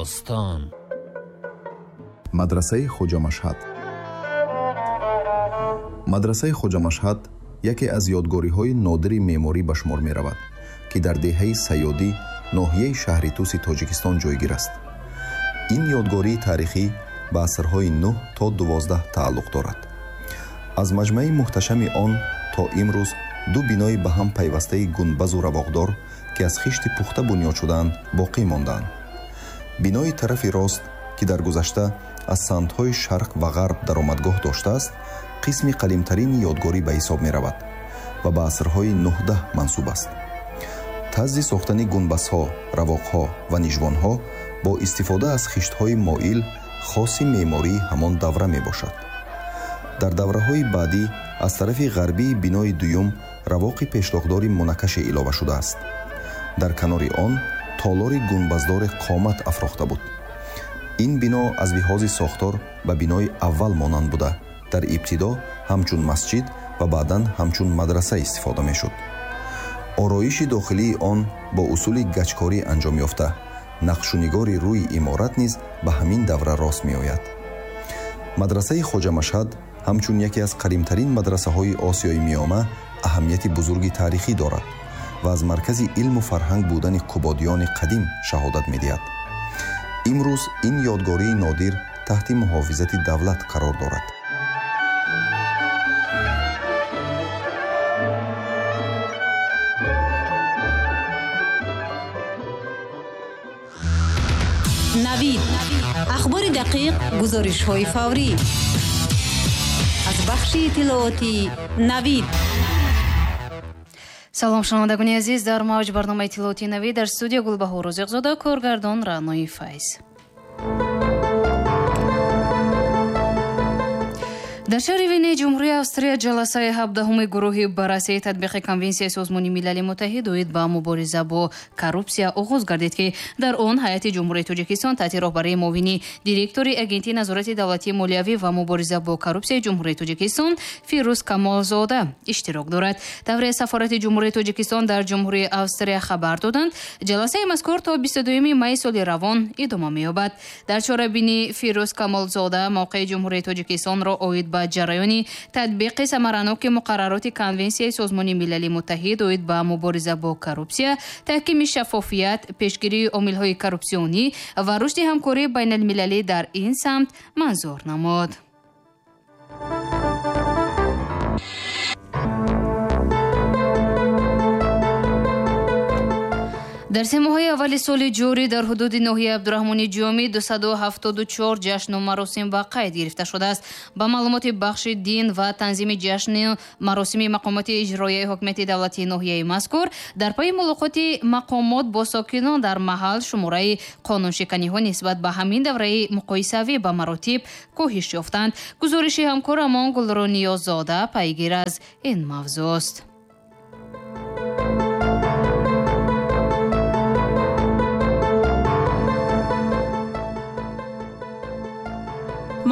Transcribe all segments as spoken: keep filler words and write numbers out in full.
Бостон. Мадрасаи Хоҷамашҳад. Мадрасаи Хоҷамашҳад яке аз ёдгориҳои нодири меъморӣ ба шумор меравад, ки дар деҳаи Сайёдӣ, ноҳияи шаҳри Туси Тоҷикистон ҷойгир аст. Ин ёдгории таърихӣ ба асрҳои нӯҳ то дувоздаҳ тааллуқ дорад. Аз маҷмӯаи муҳташами он то имрӯз ду бинои ба ҳам пайвастаи гунбазу равоқдор, ки аз хишти пухта бунёд шудаанд, боқӣ мондаанд. Бинои тарафи рост, ки дар гузашта аз самтҳои шарқ ва ғарб даромадгоҳ доштааст, қисми қалимтарини ёдгорӣ ба ҳисоб меравад ва ба асрҳои нӯҳдаҳ мансуб аст. Тарзи сохтани гунбазҳо, равоқҳо ва нижбонҳо бо истифода аз хиштҳои моил хоси меъмории ҳамон давра мебошад. Дар давраҳои баъдӣ аз тарафи ғарбии бинои дуюм равоқи пешлоқдори мунаккаше илова шудааст. Дар канори он толори гунбаздори қомат афрохта буд. Ин бино аз лиҳози сохтор ба бинои аввал монанд буда, дар ибтидо ҳамчун масҷид ва баъдан ҳамчун мадраса истифода мешуд. Ороиши дохилии он бо усули гачкорӣ анҷом ёфта, нақшунигори рӯи иморат низ ба ҳамин давра рост меояд. Мадрасаи Хоҷамашҳад ҳамчун яке аз қадимтарин мадрасаҳои Осиёи Миёна аҳамияти бузурги таърихӣ дорад ва аз маркази илму фарҳанг будани қубодиёни қадим шаҳодат медиҳад. Имрӯз ин ёдгории нодир таҳти муҳофизати давлат қарор дорад. Навид. Ахбори дақиқ, гузоришҳои фаврӣ. Аз бахши иттилоотии Навид. Салом, шунавандагони азиз, дар мавҷ барномаи иттилоотии Навид дар студия Гулбаҳор Розиқзода, коргардон Раънои Файз. Дар шаҳри Венаи Ҷумҳурии Австрия ҷаласаи ҳабдаҳуми гурӯҳи баррасии татбиқи Конвенсияи Созмони Милали Муттаҳид оид ба мубориза бо коррупсия оғоз гардид, ки дар он ҳайати Ҷумҳурии Тоҷикистон таҳти роҳбарии муовини директори Агентии назорати давлатии молиявӣ ва мубориза бо коррупсияи Ҷумҳурии Тоҷикистон Фирӯз Камолзода иштирок дорад. Тавре сафорати Ҷумҳурии Тоҷикистон дар Ҷумҳурии Австрия хабар доданд, ҷаласаи мазкур то бисту дуюми майи соли равон идома меёбад. Дар чорабинӣ Фирӯз Камолзода мавқеи Ҷумҳурии Тоҷикистонро оид ба ҷараёни татбиқи самараноки муқаррароти Конвенсияи Созмони Милали Муттаҳид оид ба мубориза бо коррупсия, таҳкими шаффофият, пешгирии омилҳои коррупсионӣ ва рушди ҳамкории байналмилалӣ дар ин самт манзур намуд. Дар се моҳаи аввали соли ҷорӣ дар ҳудуди ноҳияи Абдураҳмони Ҷомӣ дусаду ҳафтоду чор ҷашну маросим ба қайд гирифта шудааст. Ба маълумоти бахши дин ва танзими ҷашну маросими мақомоти иҷроияи ҳокимияти давлатии ноҳияи мазкур, дар пайи мулоқоти мақомот бо сокинон дар маҳал шумораи қонуншиканиҳо нисбат ба ҳамин давраи муқоисавӣ ба маротиб коҳиш ёфтанд. Гузориши ҳамкорамон Гулрӯ Ниёззода пайгир аз ин мавзӯъст.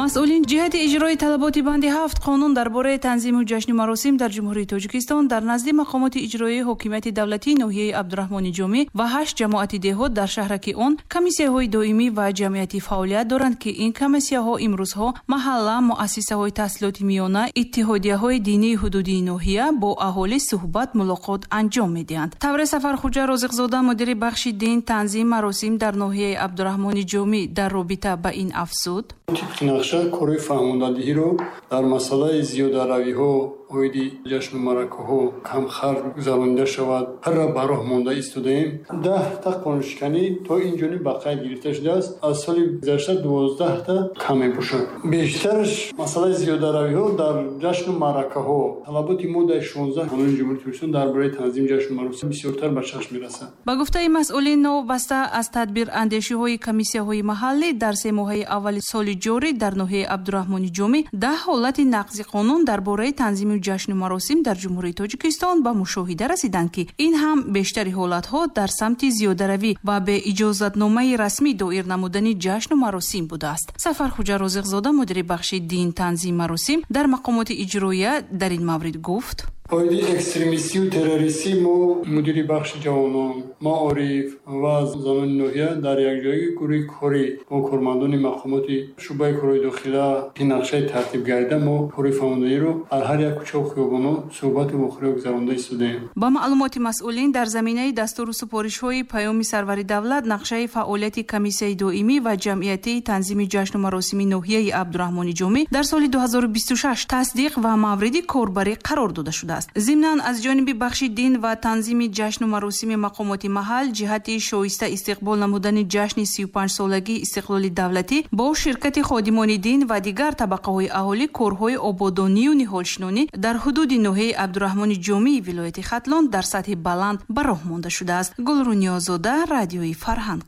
Масъулин ҷиҳати иҷрои талаботи банди ҳафт қонун дар бораи танзиму ҷашни маросим дар Ҷумҳурии Тоҷикистон дар назди мақомоти иҷроии ҳокимияти давлатии ноҳияи Абдураҳмони Ҷомӣ ва ҳашт ҷамоати деҳот дар шаҳраки он комиссияҳои доимӣ ва ҷамъиятӣ фаъолият доранд, ки ин комиссияҳо имрӯзҳо маҳалла, муассисаҳои таҳсилоти миёна, иттиҳодияҳои динии ҳудудии ноҳия бо аҳолӣ суҳбат мулоқот анҷом медиҳанд. Тавре Сафархуҷа Розиқзода, мудири бахши дин, танзим, маросим дар ноҳияи Абдураҳмони Ҷомӣ дар робита ба ин афзуд: тибқи нақша корҳои фаҳмондадиҳиро дар масъалаи зиёдаравиҳо оиди ҷашну маъракаҳо камхарҷ гузаронида шавад, ҳарра ба роҳ монда истодаем. Даҳта қонуншиканӣ то ин ҷониб ба қайд гирифта шудааст. Аз соли гузашта дувоздаҳта кам мебошад. Бештараш масъалаи зиёдаравиҳо дар ҷашну маъракаҳо. Талаботи моддаи шонздаҳ қонуни Ҷумҳурии Тоҷикистон дар бораи танзими ҷашну маросим бисёртар ба чашм мерасад. Ба гуфтаи масъулин, новобаста аз тадбирандешиҳои комиссияҳои маҳаллӣ дар се моҳаи аввали соли ҷорӣ дар ноҳияи Абдураҳмони Ҷомӣ даҳ ҳолати нақзи қонун дар бораи танзими ҷашну маросим дар Ҷумҳурии Тоҷикистон ба мушоҳида расиданд, ки ин ҳам бештари ҳолатҳо дар самти зиёдаравӣ ва бе иҷозатномаи расмӣ доир намудани ҷашну маросим будааст. Сафархуҷа Розиқзода, мудири бахши дин, танзим, маросим дар мақомоти иҷроия дар ин маврид гуфт: Оиди экстремистию террористӣ мо мудири бахши ҷавонон, маориф ва занони ноҳия дар якҷоягӣ гурӯҳи корӣ бо кормандони мақомоти шӯъбаи корҳои дохила ки нақшаи тартиб гардида, мо кори фаҳмондадиҳиро дар ҳар як кӯчаву хиёбонҳо суҳбату вохӯриҳо гузаронда истодаем. Ба маълумоти масъулин, дар заминаи дастуру супоришҳои Паёми Сарвари давлат, нақшаи фаъолияти комиссияи доимӣ ва ҷамъиятии танзими ҷашну маросими ноҳияи Абдураҳмони Ҷомӣ дар соли ду ҳазору бисту шаш тасдиқ ва мавриди корбарӣ қарор дода шудааст. Зимнан аз ҷониби бахши дин ва танзими ҷашну маросими мақомоти маҳал ҷиҳати шоиста истиқбол намудани ҷашни сию панҷсолагии истиқлоли давлатӣ бо ширкати ходимони дин ва дигар табақаҳои аҳолӣ корҳои ободонию ниҳолшинонӣ дар ҳудуди ноҳияи Абдураҳмони Ҷомии вилояти Хатлон дар сатҳи баланд ба роҳ монда шудааст. Гулру Ниёзода, Радиои Фарҳанг.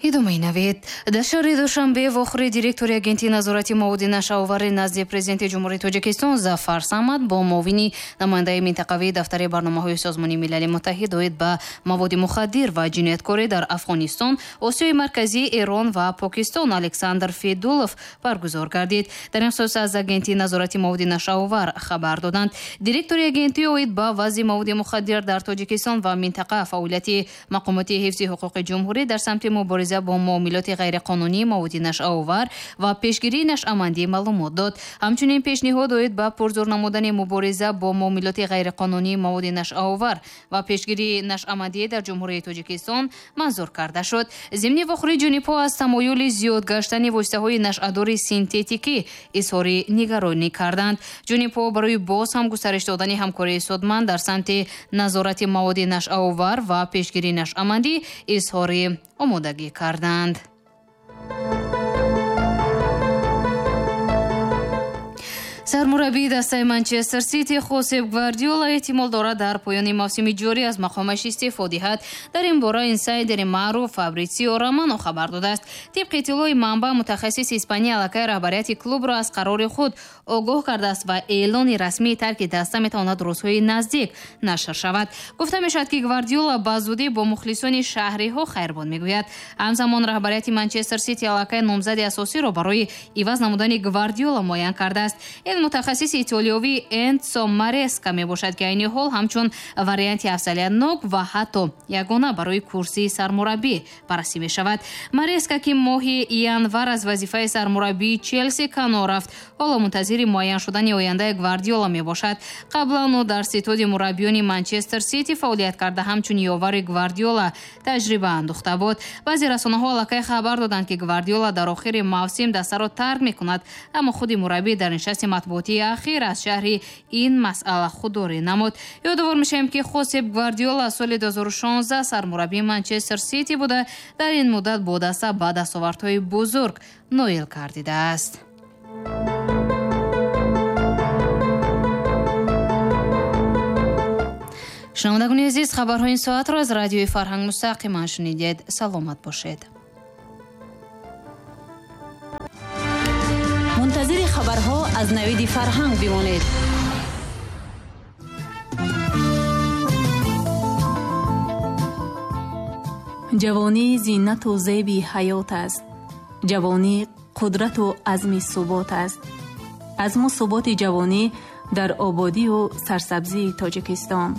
Идомаи навид. Дар шаҳри Душанбе вохӯри директори агентии назорати маводи нашъаовари назди президенти Ҷумҳурии Тоҷикистон Зафар Самад бо муовини намояндаи минтақавии дафтари барномаҳои Созмони Милали Муттаҳид оид ба маводи мухаддир ва ҷинояткорӣ дар Афғонистон, Осиёи Марказӣ, Эрон ва Покистон Александр Федулов баргузор гардид. Дар ин хусус аз агентии назорати маводи нашъаовар хабар доданд. Директори агентӣ оид ба вазъи маводи мухаддир дар Тоҷикистон ва минтақа, фаъолияти мақомоти ҳифзи ҳуқуқи ҷумҳурӣ дар самти мубориза бо муомилоти ғайриқонунии маводи нашъаовар ва пешгирии нашъамандӣ маълумот дод. Ҳамчунин пешниҳод оид ба пурзур намудани мубориза бо муомилоти ғайриқонунии маводи нашъаовар ва пешгирии нашъамандӣ дар Ҷумҳурии Тоҷикистон манзур карда шуд. Зимни вохӯрии ҷонибҳо аз тамоюли зиёд гаштани воситаҳои нашъадори синтетикӣ изҳори нигаронӣ карданд. Ҷонибҳо барои боз ҳам густариш додани ҳамкории судманд дар самти назорати маводи нашъаовар ва пешгирии нашъамандӣ изҳори омодагӣ карданд. Сармураббии дастаи Манчестер Сити Хосеп Гвардиола эҳтимол дорад дар поёни мавсими ҷорӣ аз мақомаш истеъфо диҳад. Дар ин бора инсайдери маъруф Фабритсио Романо хабар додааст. Тибқи иттилои манбаъ, мутахассиси Испания аллакай раҳбарияти клубро аз қарори худ огоҳ кардааст ва эълони расмии тарки даста метавонад рӯзҳои наздик нашр шавад. Гуфта мешавад, ки Гвардиола ба зудӣ бо мухлисони шаҳриҳо хайрбод мегӯяд. Ҳамзамон раҳбарияти Манчестер Сити аллакай номзади асосиро барои иваз намудани Гвардиола муайян кардааст. Ин мутахассиси итолиёвӣ Энцо Мареска мебошад, ки айни ҳол ҳамчун варианти афзалиятнок ва ҳатто ягона барои курсии сармураббӣ баррасӣ мешавад. Мареска, ки моҳи январ аз вазифаи сармураббии Челси канор рафт, ҳоло мунтазири муайян шудани ояндаи Гвардиола мебошад. Қаблан ӯ дар ситоди мураббиёни Манчестер Сити фаъолият карда, ҳамчун ёвари Гвардиола таҷриба андӯхта буд. Баъзе расонаҳо аллакай хабар доданд, ки Гвардиола дар охири мавсим дастаро тарк мекунад, аммо худи мураббӣ дар нишасти матбуотии ахир аз шаҳри ин масъала худдорӣ намуд. Ёдовар мешавем, ки Хосеп Гвардиола соли ду ҳазору шонздаҳ сармураббии Манчестер Сити буда, дар ин муддат бо даста ба дастовардҳои бузург ноил гардидааст. Шунавандагони азиз, хабарҳои ин соатро аз радиои Фарҳанг мустақиман шунидед. Саломат бошед. Мунтазири хабарҳо аз Навиди Фарҳанг бимонед. Ҷавонӣ зинату зеби ҳаёт аст. Ҷавонӣ қудрату азми субот аст. Азму суботи ҷавонӣ дар ободию сарсабзии Тоҷикистон.